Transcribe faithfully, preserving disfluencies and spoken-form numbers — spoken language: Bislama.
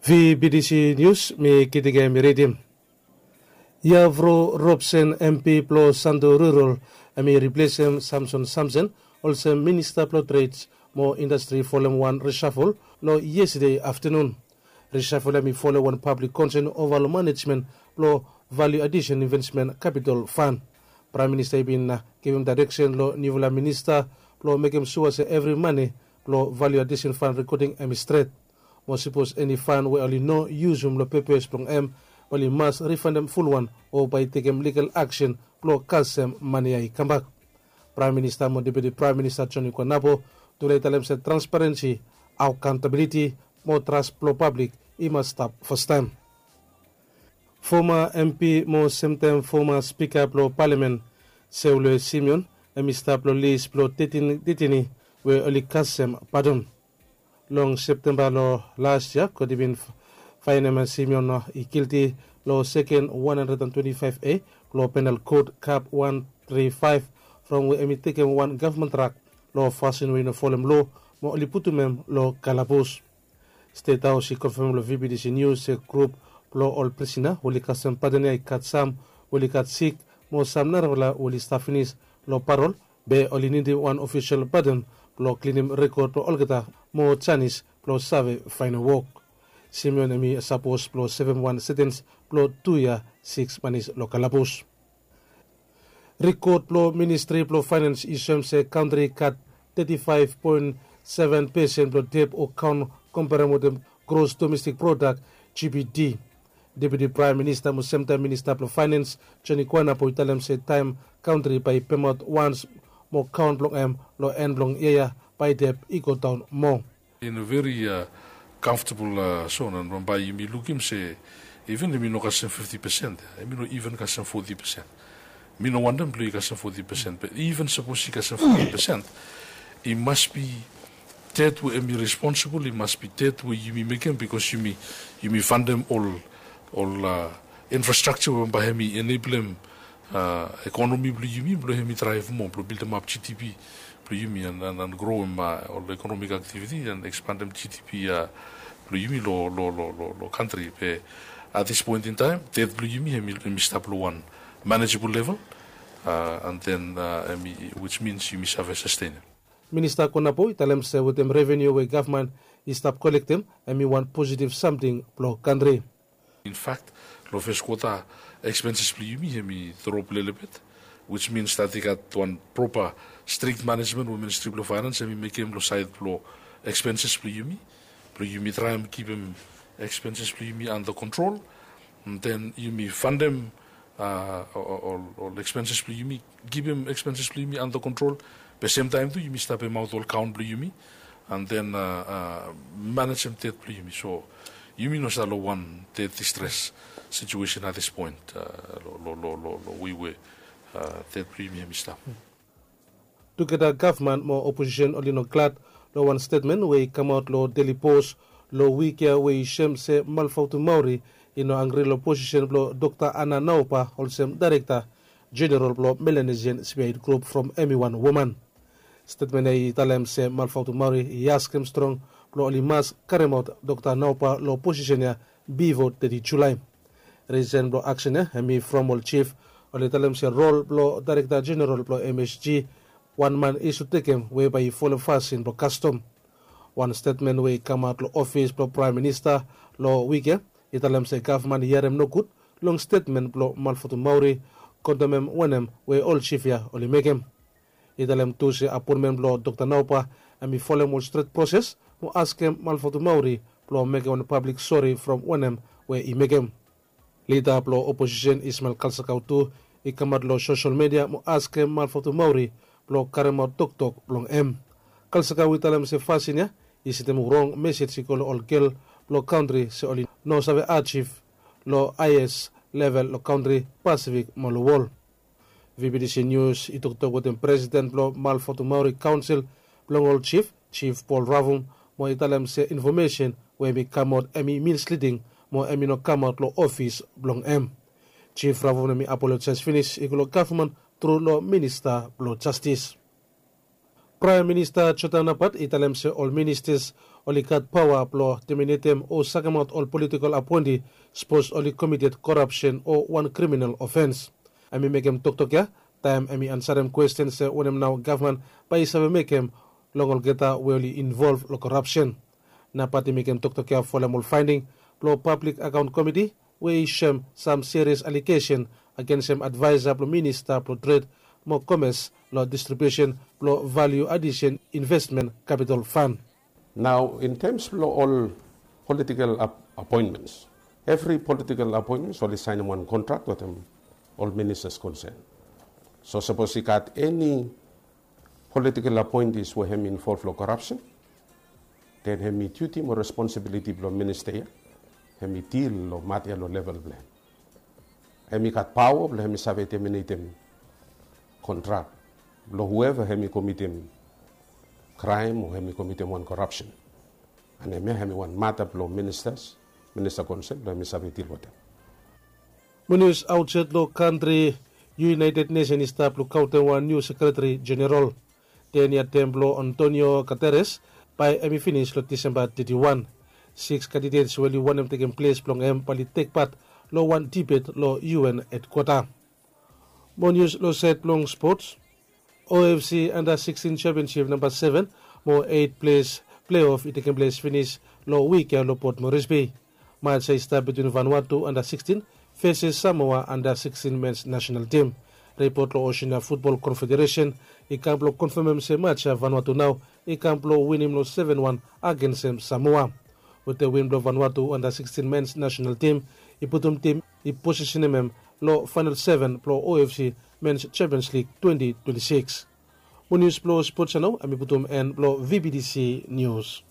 Vbtc nius mi kitikam i ridim. Yavro robsen mp blong santo rural, hem i riplesem samson samson olsem minista blong treds mo indastri folem wan risafol long yestade aftanun. Risafol hem i folem wan pablik konsen ova long manejmen blong valiu adisen invesmen kapitol fan. Praem minista i bin givim daereksen long niufala minista blong mekem sua se evri mane blong valiu adisen fan rekoding hem i stret. Mo sipos eni fan we oli no yusum long pepes blong hem, oli mas rifandem fulwan o bae i tekem ligal aksen blong kasem mane ya i kambak. Praem minista mo deputi praem minista joni kwanapo tule i talem se transparensi, akauntabiliti mo tras blong pablik i mas stap fastaem. Foma mp mo semtaem foma spika blong palamen, seule simeon, hem i stap long lis blong tetin deteni we oli kasem padon. Long septemba long las yia god i bin faenem simeon i gilti long seken wan handred an twenti faef a blong penal kot kap wan tri faef, from we hem i tekem wan gavman trak long fasin we i no folem loa mo oli putum hem long kalabus. Stet haos i konfamem long vbtc nius se grup blong ol prisina we oli kasem padon ya i gat sam we oli gat sik mo sam narafala we oli stap finis long parol, be oli nidim wan ofisol padon blong klinim rekod blong olgeta mo janis blong save faenem wok. Simeon hem i sapos blong sevem wan setens blong tu yia siks manis long kalabus. Rikod blong ministri blong faenans i soem se kantri i gat teti faef poen seven pesen blong dep o kaon komperem wetem gros domestik prodak, gpd. Deputi praem minista mo semtaem minista blong faenans joni kwanapo i talem se taem kantri bae i pemaot wans mo kaon blong hem long en blong yia ya bae dep i godaon moa. In a very comfortable zon and bambae yumi lukim se even hem i no kasem fifti pesen, hem i no even kasem foti pesen. Mi no wantem blong i kasem foti pesen, be even sapos i kasem foti pesen, i mas bi tet we hem i responsibol, i mas bi tet we yumi mekem bikos yumi yumi fantem ol ol infrastraksa we bambae hem i eneblem ekonomi blong yumi blong hem i draev moa blong bildemap gdp blong yumi an an an groem ol ekonomik aktiviti an ekspandem gdp blong yumi long long long long long kantri be at this point in taem det blong yumi hem i hem i stap long wan manejabol level an den hem i wis mins yumi save sastenem. Minista konapo i talem se wetem reveniu we gavman i stap kolektem hem i wan positiv samting blong kantri. In fakt, long fes kwota ekspenses blong yumi hem i drop lelebet, wis mins dat i gat wan propa strik manejmen we ministri blong faenans hem i mekem long saed blong ekspenses blong yumi blong yumi traem kipim ekspenses blong yumi anda kontrol. Den yumi fantem ol ekspenses blong yumi, kipim ekspenses blong yumi anda kontrol, be semtaem tu yumi stap emaot ol kaon blong yumi an den manejem det blong yumi. So yumi no stap long wan det distres situesen at this point long long long long long wei we det blong yumi hem i stap. Tugeta gavman mo oposisen oli no glad long wan stetmen we i kamaot long deli pos long wik ya we i sem se malfautu maori i no angri long posisen blong dokta ana naopa olsem daerekta jeneral blong melanesian spiaid grup from hem i wan woman. Stetmen ya i talem se malfautu maori i askem strong blong oli mas karemaot dokta naopa long posisen ya bivo teti julae. Risen blong aksen ya hem i from ol jif oli talem se rol blong daerekta jeneral blong msg wan man i sud tekem we bae i folem fasin blong kastom. Wan stetmen we i kamaot long ofis blong praem minista long wik ya i talem se gavman i harem nogud long stetmen blong malfotu maori, kondemem wanem we ol jif ya oli mekem. I talem tu se apoenmen blong dokta naopa hem i folem ol stret proses mo askem malfotu maori blong mekem wan pablik sori from wanem we i mekem. Lida blong oposisen ismael kalsakau tu i kamaot long sosel media mo askem malfotu maori blong karemaot toktok blong hem. Kalsakau i talem se fasin ya i sendem rong mesej i go long ol gel blong kantri se oli no save ajiv long haes level long kantri, pasifik mo long wol. Vbtc nius i toktok wetem presiden blong malfotu maori kaonsel blong ol jif, jif pol ravum, mo i talem se infomesen we hem i kamaot hem i minsliding mo hem i no kamaot long ofis blong hem. Jif ravum hem i apolojaes finis i go long gavman tru long minista blong jastis. Praem Minista Jota Napat i talem se ol ministas oli gat paoa blong teminetem o sakemaot ol politikol apoenti sapos oli komited korapsen o wan kriminal ofens. Hem i mekem toktok ya taem hem i ansarem kwesten se wanem nao gavman bae i save mekem long olgeta we oli involv long korapsen. Napat i mekem toktok ya folem ol faending blong pablik akaont komiti we i soem sam serias alegesen agensem advaesa blong minista blong tred mo komes long distribiusen blong valiu adisen investmen kapitol fan. Nao in tems blong ol politikal apoentmens, evri politikal apoentmens oli saenem wan kontrak wetem ol ministas konsen. So sapos i gat eni politikal apoentis we hem i involv long korapsen, den hem i diuti mo responsibiliti blong minista ya hem i dil long mata ya long level blong hem. Hem i gat paoa blong hem i save teminetem kontrak blong hueva hem i komitem kraem o hem i komitem wan korapsen. An hemia hem i wan mata blong ministas, minista konsen blong hem i save dil wetem. Mo nius aotsaed long kantri, United Nesen i stap lukaotem wan niu sekretari jeneral. Ten ya tem blong Antonio Guterres bae hem i finis long Disemba teti wan. Siks kandidets we oli wantem tekem ples blong hem bae oli tek pat long wan dibet long U N hedkwata. Mo nius long saed blong spots. O F C anda sikstin sempionsip namba seven mo eit ples pleof i tekem ples finis long wik ya long Port Moresby. Mats ya i stap bitwin Vanuatu anda sikstin feses Samoa anda sikstin mens nasenal tim. Ripot long Oseania Futbol Konfederesen i kam blong konfamem se mats ya Vanuatu nao i kam blong winim long seven wan agensem Samoa. Wetem win blong Vanuatu anda sikstin mens nasenal tim i putum tim i posisenem hem long faenal seven blong O F C Mens Champions League twenti twenti sikis. Mo nius blong spots ya nao hem i putum en blong V B T C Nius.